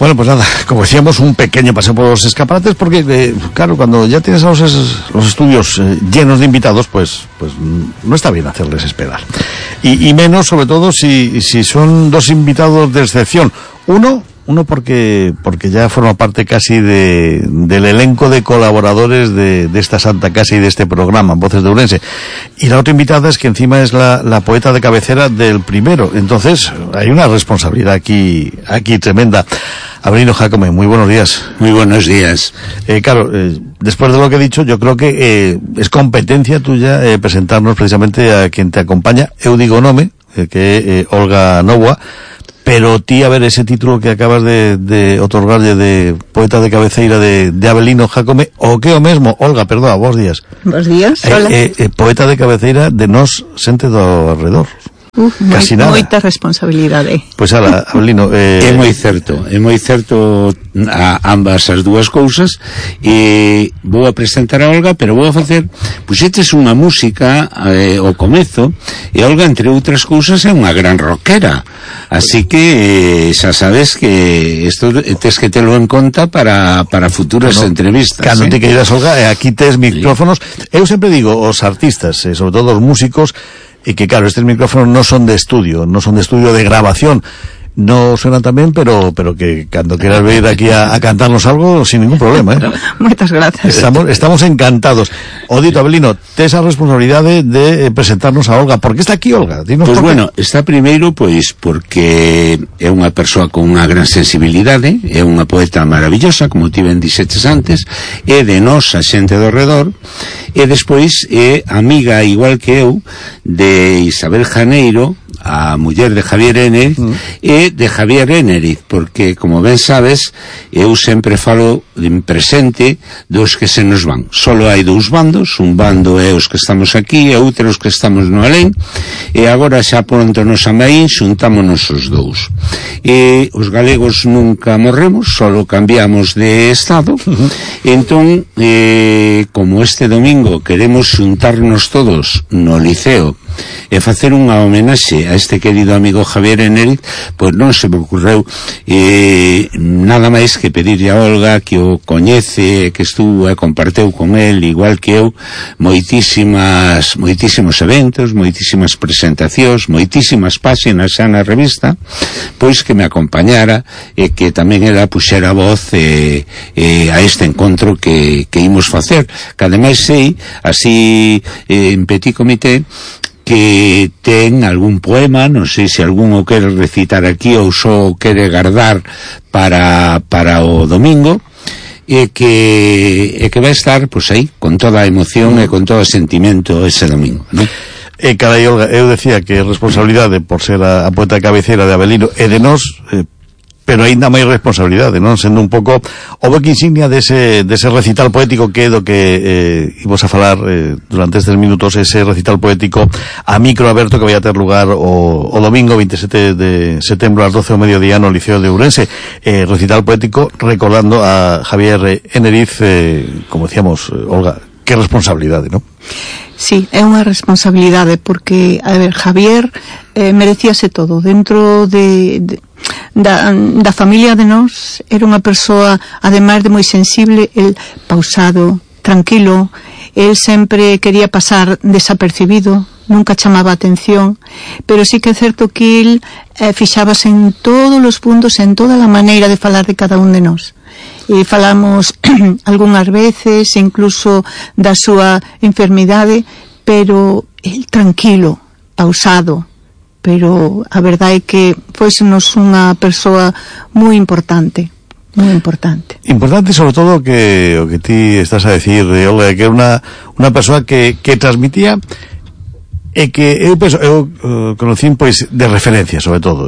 Bueno, pues nada, como decíamos, un pequeño paseo por los escaparates, porque, claro, cuando ya tienes a los estudios llenos de invitados, pues no está bien hacerles esperar. Y menos, sobre todo, si son dos invitados de excepción. Uno porque ya forma parte casi del elenco de colaboradores de esta santa casa y de este programa, Voces de Ourense. Y la otra invitada es que encima es la poeta de cabecera del primero. Entonces, hay una responsabilidad aquí tremenda. Abelino Jácome, muy buenos días. Muy buenos días. Claro, después de lo que he dicho, yo creo que es competencia tuya presentarnos precisamente a quien te acompaña, eu digo nome, que Olga Novoa. Pero ti, a ver, ese título que acabas de otorgarlle de poeta de cabeceira de Abelino Jácome, o que o mesmo, Olga, perdón, bons días. Bons días, hola. Poeta de cabeceira de nós xente do arredor. Casi nada. Moita responsabilidade. Pois ala, Abelino, é moi certo a ambas as dúas cousas. E vou a presentar a Olga, pero vou a facer, pois este é unha música ao comezo, e Olga, entre outras cousas, é unha gran rockera, así que xa sabes que isto tes que telo en conta para futuras entrevistas. Cando te queiras, Olga, aquí tes micrófonos. Eu sempre digo, os artistas, sobre todo os músicos, y que claro, estos micrófonos no son de estudio de grabación, no suenan tamén, pero que cando quieras venir aquí a cantarnos algo sin ningún problema, Moitas gracias. Estamos encantados. O dito, Abelino, tes a responsabilidade de presentarnos a Olga. Por que está aquí, Olga? Dinos. Pois bueno, está primeiro pois porque é unha persoa con unha gran sensibilidade, é unha poeta maravillosa, como ti ben dixetes antes, é de nós a xente do redor, e despois é amiga, igual que eu, de Isabel Janeiro, a muller de Javier Eneriz, e de Javier Eneriz, porque, como ben sabes, eu sempre falo en presente dos que se nos van. Solo hai dous bandos, un bando é os que estamos aquí e outro os que estamos no alén, e agora xa pronto nos amaín xuntámonos os dous. E os galegos nunca morremos, solo cambiamos de estado. Entón, como este domingo queremos xuntarnos todos no Liceo e facer unha homenaxe a este querido amigo Javier Eneriz, pois non se me ocorreu nada máis que pedirle a Olga, que o coñece, que estuvo e comparteu con el, igual que eu, moitísimos eventos, moitísimas presentacións, moitísimas páxinas xa na revista, pois que me acompañara e que tamén ela puxera voz a este encontro que imos facer, que ademais sei, así en petit comité, que ten algún poema, non sei se algún o quere recitar aquí ou só o quere guardar para o domingo, e que vai estar, pois aí, con toda a emoción e con todo o sentimento ese domingo, non? Carai, Olga, eu decía que responsabilidade por ser a poeta de cabeceira de Abelino e de nós, pero aínda máis responsabilidade, non? Sendo un pouco o boque insignia dese recital poético que é do que imos a falar durante estes minutos, ese recital poético a micro aberto que vai a ter lugar o domingo 27 de setembro ás 12 ao mediodía no Liceo de Ourense. Recital poético recordando a Javier Eneriz, como decíamos, Olga, que responsabilidade, non? Sí, é unha responsabilidade porque, a ver, Javier merecíase todo dentro da familia de nós. Era unha persoa, ademais de moi sensible, el pausado, tranquilo. El sempre quería pasar desapercibido, nunca chamaba atención, pero sí que é certo que el fixábase en todos os puntos, en toda a maneira de falar de cada un de nós. E falamos algunhas veces incluso da súa enfermidade, pero el tranquilo, pausado, pero a verdade é que foisenos unha persoa moi importante. Moi importante. Importante, sobre todo, que o que ti estás a decir, Olga, que é unha persoa que transmitía e que eu conocín pois de referencia, sobre todo,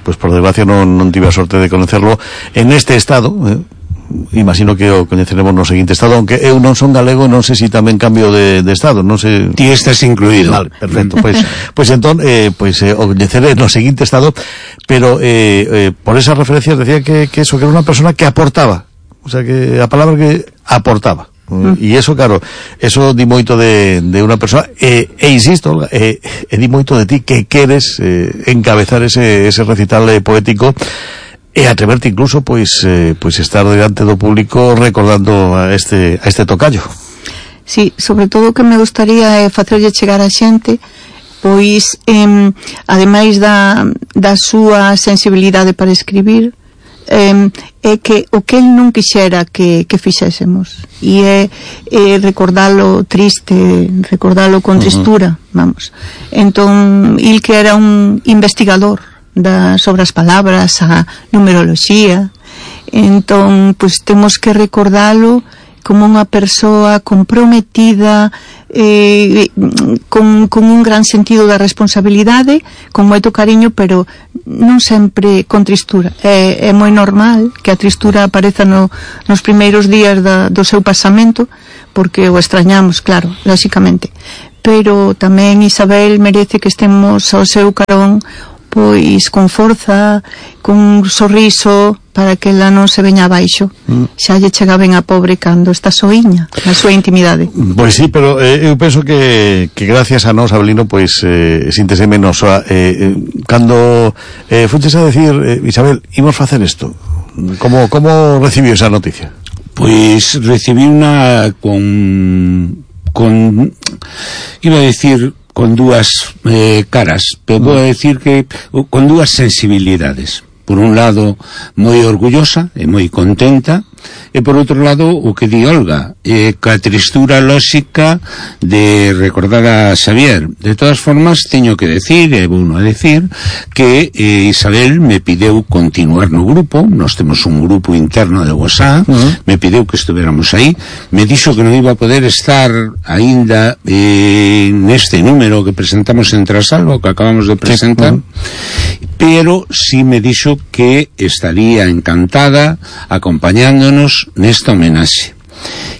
pois por desgracia non tive a sorte de conocerlo en este estado, imagino que o coñeceremos no seguinte estado, aunque eu non son galego, non sei se tamén cambio de estado, non sei. Ti estás incluído. Vale, perfecto, pois entón, o coñeceré no seguinte estado, pero por esas referencias decía que eso, que era unha persona que aportaba, o sea, que a palabra que aportaba. E eso, claro, eso di moito de unha persoa, e insisto, Olga, di moito de ti que queres encabezar ese recital poético e atreverte incluso pois estar diante do público recordando a este tocayo. Sí, sobre todo o que me gustaría é facerlle chegar a xente pois ademais da súa sensibilidade para escribir, é que o que el non quixera que fixésemos, e é recordalo triste, recordalo con tristura, vamos. Entón, il que era un investigador sobre as palabras, a numeroloxía, entón, pois temos que recordalo como unha persoa comprometida, con un gran sentido da responsabilidade, con moito cariño, pero non sempre con tristura. É moi normal que a tristura apareza nos primeiros días do seu pasamento, porque o extrañamos, claro, lóxicamente. Pero tamén Isabel merece que estemos ao seu carón, pois con forza, con un sorriso, para que ela non se veña abaixo. Xa lle chega ben a pobre cando está soiña na súa intimidade. Pois sí, pero eu penso que gracias a nós, Abelino, pois síntese menos cando fuches a decir, Isabel, imos facer isto, como recibiu esa noticia? Pois recibí una con iba a decir con dúas caras, pero vou decir que con dúas sensibilidades. Por un lado, moi orgullosa e moi contenta, e por outro lado, o que di Olga, ca tristura lóxica de recordar a Xavier. De todas formas, teño que decir, e vou a decir, que Isabel me pideu continuar no grupo. Nós temos un grupo interno de WhatsApp, me pideu que estuveramos aí, me dixo que non iba a poder estar aínda neste número que presentamos en Trasalvo, que acabamos de presentar, pero sí me dixo que estaría encantada acompañándonos nesta homenaxe.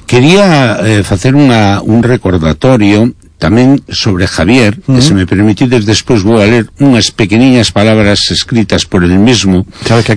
Quería facer un recordatorio tamén sobre Javier, e se me permitides despois vou a ler unhas pequeniñas palabras escritas por el mesmo. Sabe que